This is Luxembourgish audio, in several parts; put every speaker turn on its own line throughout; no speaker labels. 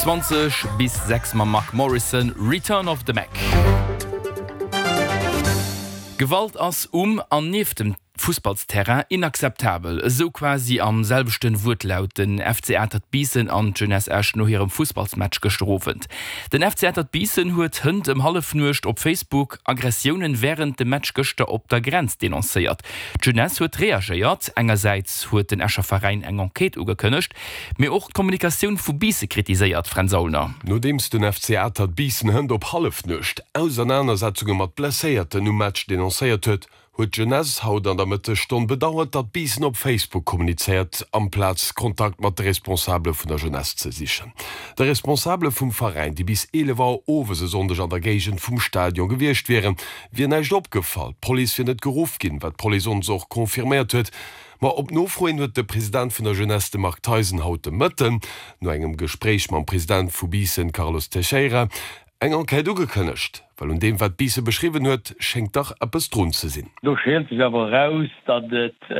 20 bis 6 mam Mark Morrison, Return of the Mac. Gewalt ass um an nieft dem Fussballsterrain inakzeptabel, esou quasi am selwechten Wuertlaut den FC Atert Biissen an d'Jeunesse Esch no hirem Fussballsmatch gëschter Owend. Den FC Atert Biissen huet hënt ëm Hallefnuecht op Facebook Aggressiounen wärend dem Match gëschter op der Grenz denoncéiert. D'Jeunesse huet reagéiert, engersäits huet den Escher Veräin eng Enquête ugekënnegt, mee och d'Kommunikatioun vu Biisse kritiséiert, Fränz Aulner.
Nodeems den FC Atert Biissen hënt op Hallefnuecht Ausernanersetzunge mat Blesséierten um Match denoncéiert huet, huet d'Jeunesse haut an der Mëttesstonn bedauert, datt Biissen op Facebook kommunizéiert, amplaz Kontakt mat de Responsabele vun der Jeunesse ze sichen. De Responsabele vum Veräin, déi bis 11 Auer owes e Sonndeg an der Géigend vum Stadion gewiescht wieren, wier näischt opgefall. D'Police wier net geruff ginn, wat d'Police ons och confirméiert huet. Ma op Nofro hin huet de President vun der Jeunesse, de Marc Theisen, haut de Mëtten, no engem Gespréich mam President vu Biissen, Carlos Teixeira, Eng Enquête ugekënnegt, well un deem wat Biissen beschriwwen huet, schéngt dach eppes drun ze sinn.
Do scheelt sech awer eraus, datt et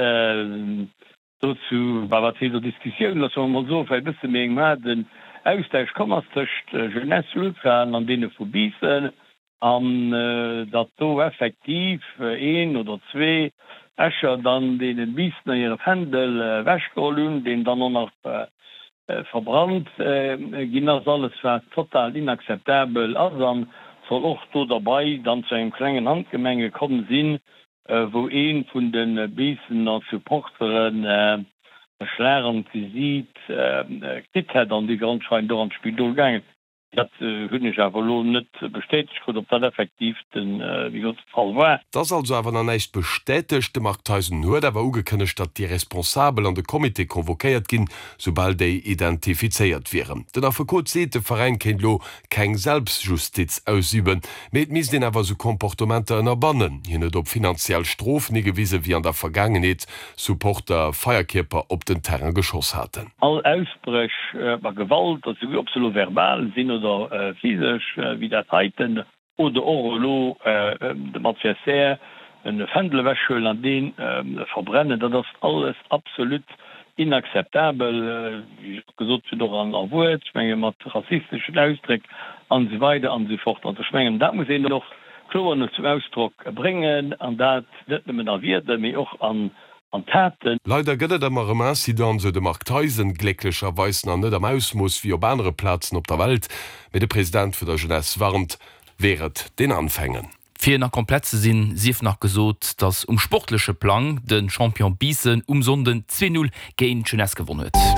dozou, bah, wat heescht do Diskussioun, loosse mer emol soen, vläicht e bësse méi engem haarden Austausch komm ass tëscht Jeunesse Ultraen an deene vu Biissen, an datt do effektiv een oder zwee Escher dann deene Biissener hire Fändel ewechgeholl hunn, deen dann och nach verbrannt ginn ass, alles wat total inakzeptabel ass an soll och do derbei dann zu engem klengen Handgemenge komm sinn, wou ee vun de Biissener Supporteren e Schlag an d'Gesiit kritt hätt an dee anscheinend och an d'Spidol gaangen. Dat hunn ech awer elo net bestätegt krut, ob dat effektiv de wéi gesot de Fall war.
Et ass also awer nach näischt bestätegt. De Marc Theisen huet awer ugekënnegt, datt déi Responsabel an de Comité convoquéiert ginn, soubal déi identifizéiert wieren. Den Affekot seet, de Veräin kéint elo keng Selbstjustiz ausüben, mee et misst een awer esou Comportementer ënnerbannen. Hien huet op finanziell Strofen higewisen, wéi an der Vergaangenheet Supporter Feierkierper op den Terrain geschoss haten.
All Ausbréch a Gewalt, also ob se elo verbal sinn oder physesch, wéi dat heiten, oder och elo dem Adversaire e Fändel ewechhuelen an dee verbrennen, dat ass alles absolut inakzeptabel, wéi ech och gesot hunn, och a Wuert, ech menge mat rassisteschen Ausdréck an esou weider an esou fort. Also ech mengen, dat muss een och kloer no zum Ausdrock bréngen, an dat net nëmmen a Wierder, mee och an Taten.
Leider gëtt et ëmmer erëm Incidenten, sou de Marc Theisen, glécklecherweis nach net am Ausmooss wéi op anere Plazen op der Welt, mee de President vun der Jeunesse warnt, Wehret den Anfängen.
Fir nach komplett ze sinn, sief nach gesot, datt um sportleche Plang de Champion Biissen um Sonnden 2, 0 géint d'Jeunesse gewonn huet.